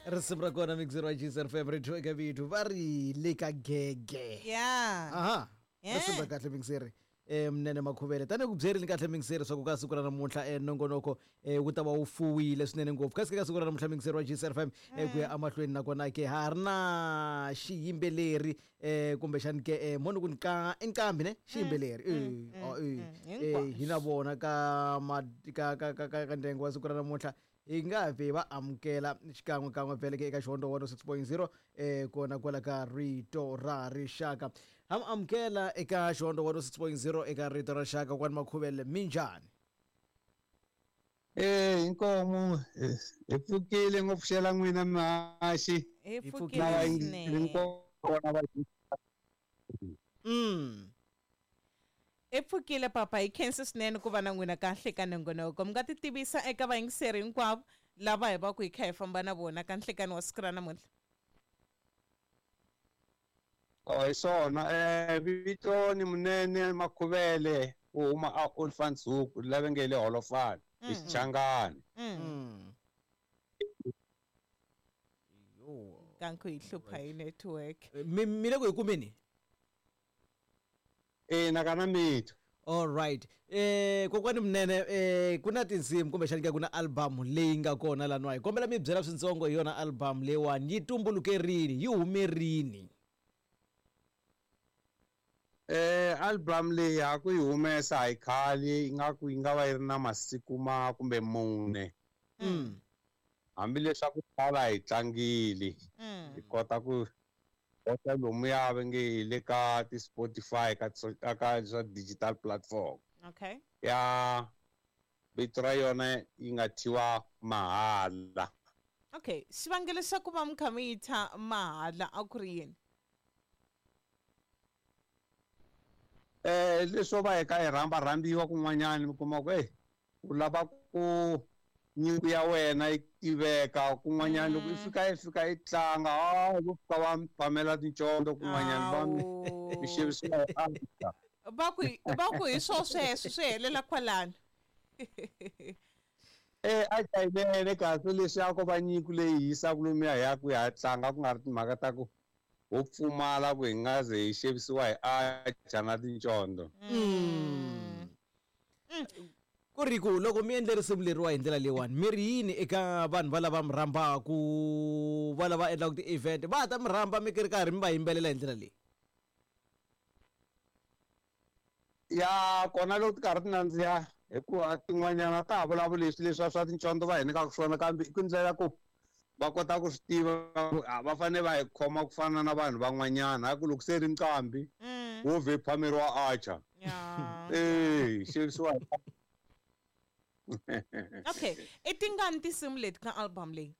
Risimu ra kona mixer wa Gcr favorite eka vito va ri le ka gege. Ya. Aha. Yeah. Risimu ra kahle mixer. Mnene Makhuvele tanihi ku byerile kahle mixer swa ku ka siku ra namuntlha nongonoko wu ta va wu fuwile swinene ngopfu kasi ka siku ra namuntlha mixer wa Gcr FM ku ya emahlweni nakona ke ha ri na xiyimbeleri kumbexani ke moni ku nka i nqambi ne xiyimbeleri oh, hi na vona ka ka ka ka ka ka ndyangu wa siku ra namuntlha hi nga vhe va amukela xikan'we kan'we vhele ke eka Xihondzo 106.0 kona kwala ka Rito ra Rixaka. Ha mi amukela eka Xihondzo 106.0 eka Rito ra Rixaka kwani Makhuvele, minjhani? Eh, inkomu hi pfukile ngopfu xela n'wina mihaxi. Hi Hi pfukile Na swinene. hinkona va I pfukile papa, hi khensa swinene ku va na n'wina kahle ka nongonoko. Mi nga ti tivisa eka vayingiseri hinkwavo lava hi va ku hi kha hi famba na vona ka nhlekani wa siku ra namuntlha. Oh, hi swona. Vito ni Munene Makhuvele, u huma a Olifantshoek, lava nge le Holofani, hi Xichangani. Yo. Kanku hi hlupha hi network. Mi le ku hi kumeni? Ina kana mithu. All right. Kokwani Munene, ku na tinsimu kumbexani ke ku na album leyi nga kona laniwa. Hi kombela mi byela swintsongo hi yona album leyiwani, yi tumbuluke rini, yi hume rini? Album leyi ha ku yi humesa hi khale, ingaku yi nga va yi ri na masiku ma kumbe mune. Hambileswaku tala hi tlangile, hi kota ku kota lomu ya va nge hi le ka ti-Spotify, ka ka swa digital platform. Okay. Ya vito ra yona yi nga thyiwa Mahala. Okay, xivangelo xa ku va mi kha mi yi thya Mahala a ku ri yini? Leswo va hi ka hi rhamba rhambiwa kun'wanyana, mi kuma ku, hey, u lava ku nyiko ya wena yi tiveka kun'wanyana, loko i fika i fika i tlanga, vo fika va mi phamela tincondo kun'wanyana, va mi mi xavisiwa hi Afrika. Va ku hi swo sweswo swi helela kwalano. A yinene kahle leswi a ko va nyiko leyi hi yisaka lomuya hi ya ku ya tlanga, ku nga ri timhaka ta ku ho pfumala ku hi nga ze hi xavisiwa hi acha na tincondo. Ku ri ku loko mi endle risimu leriwa hi ndlela leyiwani, mi ri yini eka vanhu va lava mi rhambaku, va lava endlaka ti-event, va ta mi rhamba mi ri karhi mi va yimbelela hi ndlela leyi? Ya kona loko ti karhi ti nandziha, hikuva tin'wanyana ta ha vulavuli leswi leswiya swa tincondo va hi nyikaka swona, kambe i ku ndlela ku va kota ku swi tiva ku, va fanele va hi khoma ku fana na vanhu van'wanyana, ha ku loko se ri nqambi, wo vhe phameriwa acha. Xavisiwa hi Okay, i tingani tinsimu leti ka album leyi?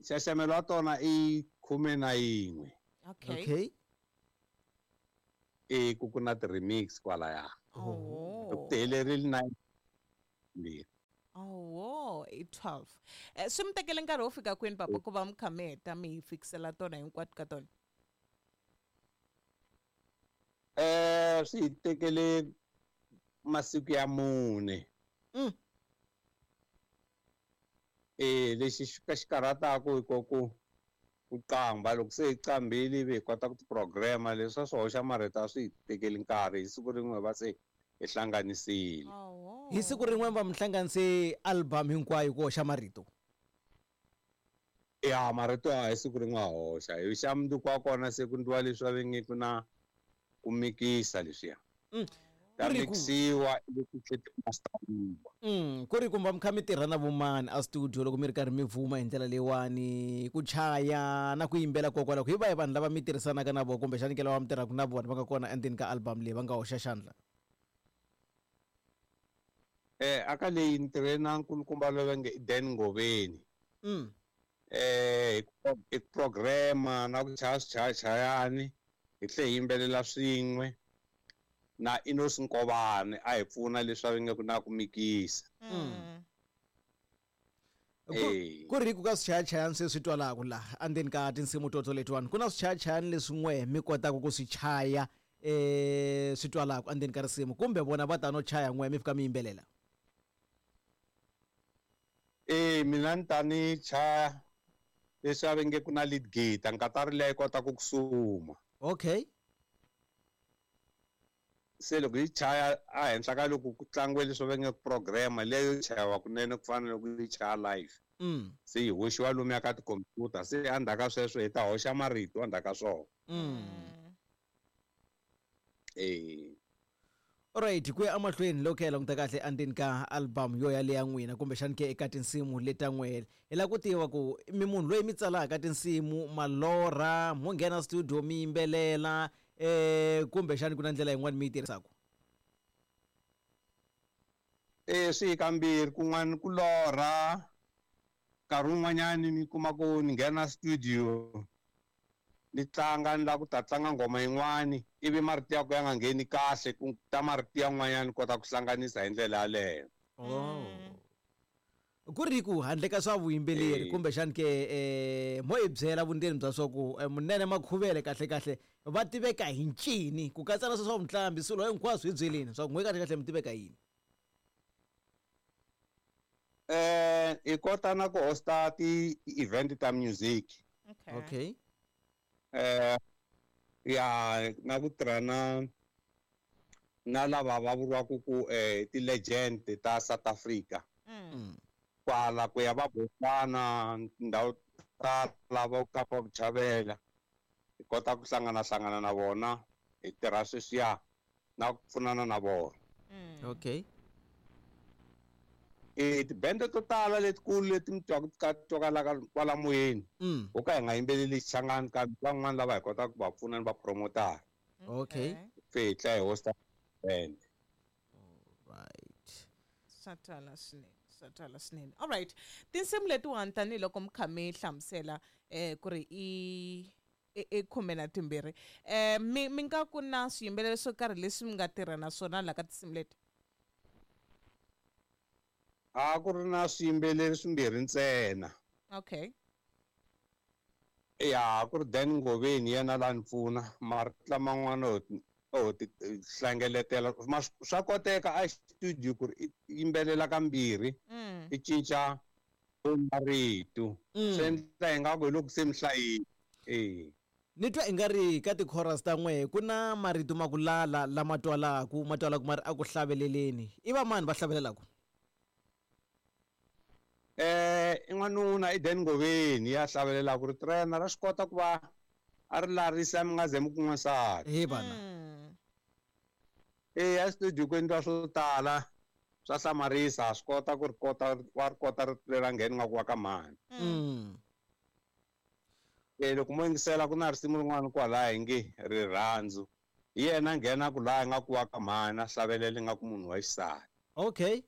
Nxaxamelo wa tona i 11. Okay. Okay. Ku na ti-remix kwalaya. Oh. Loko ti helerile 9 mbirhi. Oh, i 12. Swi mi tekele nkarhi wo fika kwini papa ku va mi kha mi heta mi hi fikisela tona hinkwato ka tona? Swi hi tekele masiku ya 4. Lexi xi ka xi karhataka hi ku ku qamba, loko se hi qambile ivi hi kota ku ti-program-a, leswi swa swi hoxa marito a swi hi tekeli nkarhi, hi siku rin'we va se hi hlanganisile. Hi siku rin'we va mi hlanganise album hinkwayo ku hoxa marito? Ya, marito ya hi siku rin'we a hoxa. Hi xa mundzuku wa kona se ku ndliwa leswi va venge ku na ku mikisa leswiya. Ta Ku ri ku mikisiwa ivi ku tlhela ti masteriwa. Ku ri ku va mi kha mi tirha na vomani a studio loko mi ri karhi mi vuma hi ndlela leyiwani, ku chaya na ku yimbela kokwalaho, hi vahi vanhu lava mi tirhisanaka na vona kumbexani ke lava mi tirhaka na vona va nga kona endzeni ka album leyi va nga hoxa xandla? Aka leyi ni tirhe na nkulukumba loyi va nge i Dan Ngoveni. Hi ku programa na ku chaya swichayachayani, hi tlhe hi yimbelela swin'we na Enos Nkovani a hi pfuna leswi va nge ku na ku mikisa. Ku ri ku ka swichayachayani sweswi twalaka laha endzeni ka tinsimu toto letiwani, ku na swichayachayani leswi n'we mi kotaka ku swi chaya swi twalaka endzeni ka risimu, kumbe vona va ta no chaya n'we mi fika mi yimbelela? Mina ni ta ni chaya leswi a va nge ku na lead guitar, nkatari leyi kota ku suma. Okay. Se loko yi chaya ehenhla ka loko ku tlangiwe leswi va nge program leyo chayiwa kunene ku fana na loko yi chaya live. Se yi hoxiwa lomuya ka tikhompyuta, se endzhaku ka sweswo hi ta hoxa marito endzhaku ka swona. Alright, ku ya emahlweni loko hi languta kahle endzeni ka album yo yaleya n'wina kumbexani ke eka tinsimu leta n'wele, hi lava ku tiva ku mi munhu loyi mi tsalaka tinsimu malorha, mo nghena studio mi yimbelela, kumbexani ku na ndlela yin'wani mi yi tirhisaka? Swi hi kambirhi, kun'wana ku lorha, nkarhi wun'wanyani mi kuma ku ni nghena studio ni tlanga, ni lava ku ta tlanga nghoma yin'wani, ivi marito ya ku ya nga ngheni kahle, ku ta marito yan'wanyani kota ku hlanganisa hi ndlela yaleyo. Ku ri ku handle ka swa vuyimbeleri, kumbexani ke mo hi byela vundzeni bya swa ku Munene Makhuvele kahle kahle va tiveka hi ncini, ku katsa na swa mutlambi, swilo hinkwaswo hi byeleni swa ku n'we kahle kahle mi tiveka yini? Hi kota na ku hosta ti-event ta music. Okay. Ya na ku tirha na lava va vuriwaka ku ti-legend ta South Africa. Kwala ku ya va Botswana, tindhawu ta lava Kapa Vuchavela, hi kota ku hlangana hlangana na vona, hi tirha sweswiya na ku pfunana na vona. Okay. Tibende to tala letikulu leti mi twaka ti twakalaka kwala moyeni, ho ka hi nga yimbeleli Xichangani, kambe van'wani lava hi kotaka ku va pfuna ni va promotara. Okay. Se hi tlhela hi hosta band. Right. Swa twala swinene, swa twala swinene. All right. Tinsimu letiwani tanihiloko mi kha mi hlamusela ku ri i 12, mi nga ku na swiyimbeleri swo karhi leswi mi nga tirha na swona laha ka tinsimu leti? A ku ri na swiyimbeleri swimbirhi ntsena. Okay. Ya, ku ri Dan Ngoveni yena la ni pfuna, marito laman'wana o ti hlengeletela. Swa koteka a studio ku ri i yimbelela kambirhi, i cinca marito. Swi endla ingaku hi loko se mi hlayile. Ni twa ingari ka ti-chorus ta n'we ku na marito ma ku lala lama twalaku, ma twalaku ma ri a ku hlaveleleni. I va mani va hlavelelaka? I n'wanuna i Dan Ngoveni ya hlavelelaka, rito ra yena ra swi kota ku va a ri larisa mi nga ze mi ku n'wansati. He vana. A studio ku endliwa swo tala, swa hlamarisa, swi kota ku ri kota, wa ri kota rito leri a nghena nga ku wa ka mhani. Loko mo yingisela ku na risimu rin'wana kwalaya hi nge rirhandzu, hi yena a nghena ku laha nga ku wa ka mhani, a hlavelela nga ku munhu wa xisati. Okay.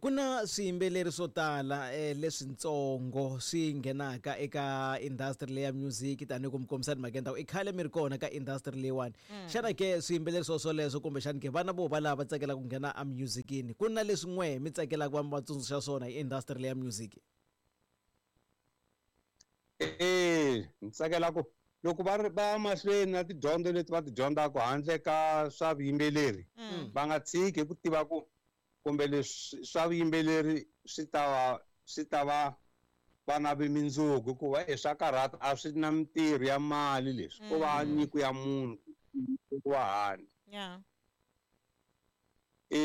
Ku na swiyimbeleri swo tala leswintsongo swi nghenaka eka industry leya music, tanihi ku mi kombisa timhaka ta ku i khale mi ri kona ka industry leyiwani. Xana ke swiyimbeleri swo swoleswo kumbexani ke vana vo va lava va tsakelaka ku nghena emusicini, ku na leswi n'we mi tsakelaka va mi va tsundzuxa swona hi industry leya music? Ni tsakela ku loko va ri va mahlweni na tidyondzo leti va ti dyondzaka handle ka swa vuyimbeleri, va nga tshiki hi ku tiva ku kumbe leswi swa vuyimbeleri swi ta va, swi ta va va na vumundzuku, hikuva swa karhata, a swi na mintirho ya mali leswi, ko va nyiko ya munhu ku va hanya.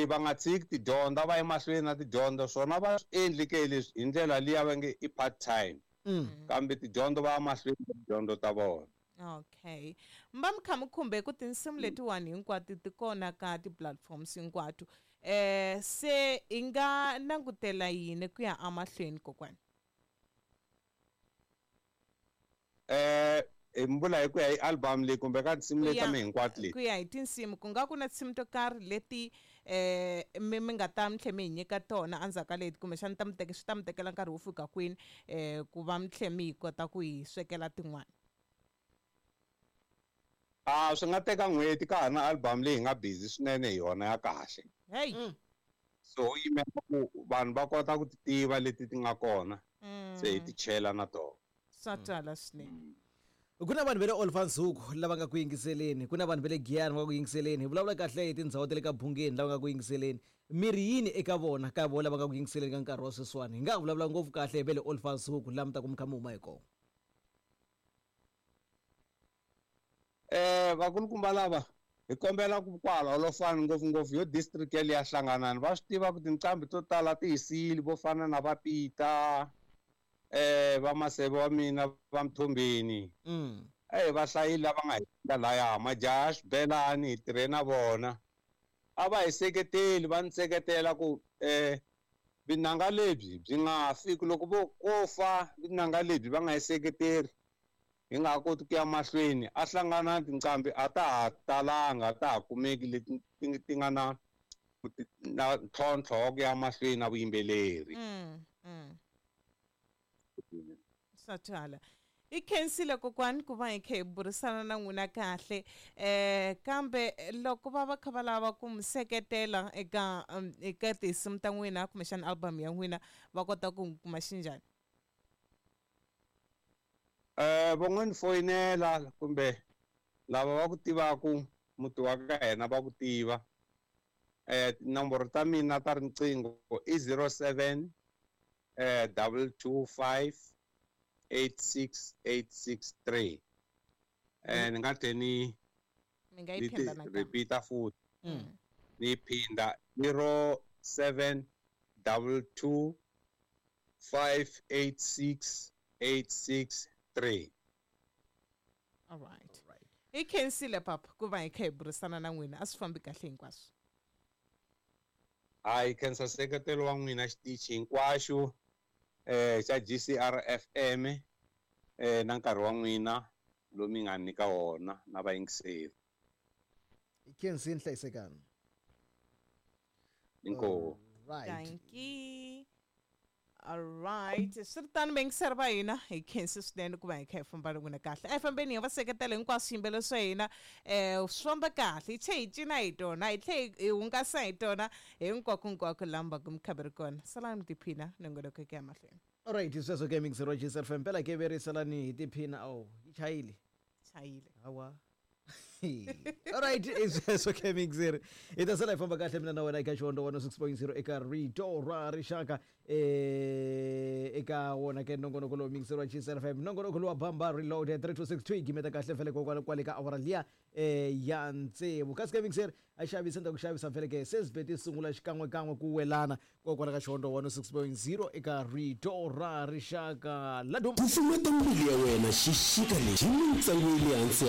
Va nga tshiki tidyondzo, va ye mahlweni na tidyondzo, swona va swi endli ke leswi hi ndlela liya va nge i part time. Kambe tidyondzo va ya mahlweni na tidyondzo ta vona. Okay. Mi va mi kha mi khumbe ku tinsimu letiwani hinkwato ti kona ka ti-platforms hinkwato. Se hi nga langutela yini ku ya emahlweni kokwani? Hi mi vula hi ku ya hi album leyi kumbe ka tinsimu leti ta mina hinkwato leti? Ku ya hi tinsimu, ku nga ku na tinsimu to karhi leti mi nga ta mi tlhe mi hi nyika tona endzhaku ka leti, kumbexana ta mi teka, swi ta mi tekela nkarhi wo fika kwini ku va mi tlhe mi hi kota ku hi swekela tin'wana? Swi nga teka n'hweti ka ha ri na album leyi hi nga busy swinene hi yona ya kahle. Hey. So ho yimela ku vanhu va kota ku ti tiva leti ti nga kona, se hi ti chela na tona. Swa twala swinene. Ku na vanhu va le Olifantshoek lava nga ku yingiseleni, ku na vanhu va le Giyani va nga ku yingiseleni, hi vulavula kahle hi tindhawu ta le ka Bungeni lava nga ku yingiseleni. Mi ri yini eka vona, ka vona lava nga ku yingiseleni ka nkarhi wa sweswiwani? Hi nga ha vulavula ngopfu kahle hi va le Olifantshoek laha mi ta ku mi kha mi huma hi kona. Vakulukumba lava hi kombela ku kwala Olofani ngopfungopfu yo district yaliya Hlanganani va swi tiva ku tinqambi to tala ti hi siyile vo fana na va Peter va Maseve wa mina va Mthombeni. Va hlayile lava nga hi endla laya majaha ya xibelani hi tirhe na vona a va hi seketeli va ni seketela ku vinanga lebyi byi nga fi ku loko vo ko fa vinanga lebyi va nga hi seketeri hi nga ha koti ku ya mahlweni a hlangana tinqambi a ta ha talanga a ta ha kumeki leti ti nga na na ntlhontlho wa ku ya mahlweni na vuyimbeleri. Swa twala. I khensile kokwani ku va hi kha hi burisana na n'wina kahle kambe loko va va kha va lava ku mi seketela eka eka tinsimu ta n'wina kumbexana album ya n'wina va kota ku kuma xinjhani? Va ngo ni foyinela kumbe lava va ku tivaku muti wa ka hina va ku tiva. Tinomboro ta mina ta riqingho i 07 225 86863. Ni nga tlhe ni mi nga yi phinda nakambe. Repeat futhi. Ni phinda 07 22 586 863. All right. I khensile papa ku va hi kha hi burisana na n'wina a swi fambi kahle hinkwaswo. Hayi khensa nseketelo wa n'wina xitichi hinkwaxo xa GCR FM na nkarhi wa n'wina lowu mi nga nyika wona na vayingiseri. Khensini hlayisekani. Inkomu. Right. Thank you. All right. Swi ri tano vayingiseri va hina hi khensi swinene ku va hi kha hi famba na n'wina kahle. A hi fambeni hi va seketela hinkwaswo swiyimbeleri swa hina swi famba kahle hi tlhe hi cina hi tona hi tlhe hi hungasa hi tona hinkwako laha mi va ku mi kha mi ri kona. Salani mi tiphina nongonoko ku ya mahlweni. All right, sweswo ke mixer wa GCR FM mpela ke verisalani hi tiphina oh yi chayile. Chayile. Hawa. All right, sweswo ke mixer. Hi ta sala hi famba kahle mina na wena eka Xihondzo 106.0 eka Rito ra Rixaka eka wona ke nongonoko lowu mixer wa GCR FM nongonoko lowa Bamba Reloaded 3262 gimeta kahle vhele kokwala kwale ka awara liya ya tsevu. Kasi ke mixer a xavisa nda ku xavisa vhele ke se swi sungula xikan'wekan'we ku welana kokwala ka Xihondzo 106.0 eka Rito ra Rixaka. Laduma Kufumeta mbilu ya wena xixika lexi hi mintsengo ya le hansi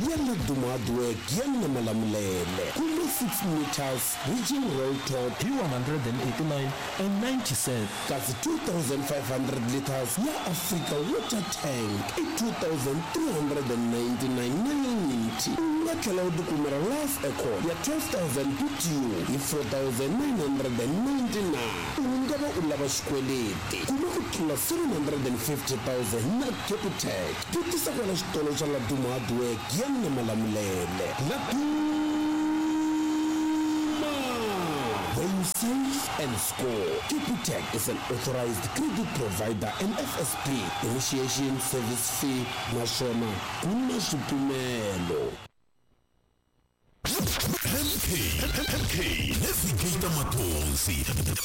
ya Laduma Hardwork ya na Malamulele. Kuma 6 meters Region Roll Top hi 189 and 90 cents. Kasi 2500 liters ya Africa Water Tank i 2399.90. U nga tlhela u tikumela Life Eco ya 12000 BTU hi 4999. U nga va u lava xikweleti kuma ku tlula 750,000 na Capitec. Vutisa kwala xitolo xa Laduma Hardwork ya na Malamulele. Laduma, where you save and score. Capitec is an authorized credit provider and FSP initiation service fee naswona ku na swipimelo. MK MK Navigator Matonzi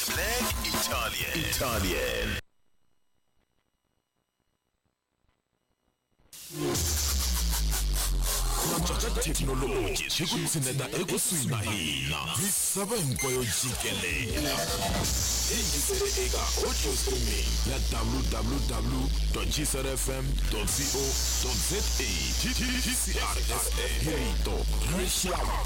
Black Italian. Technology swi ku tshineta ekusuhi na hina misava hinkwayo jikelele. Yingisele eka audio streaming ya www.gcrfm.co.za. GCRFM hi rito ra rixaka.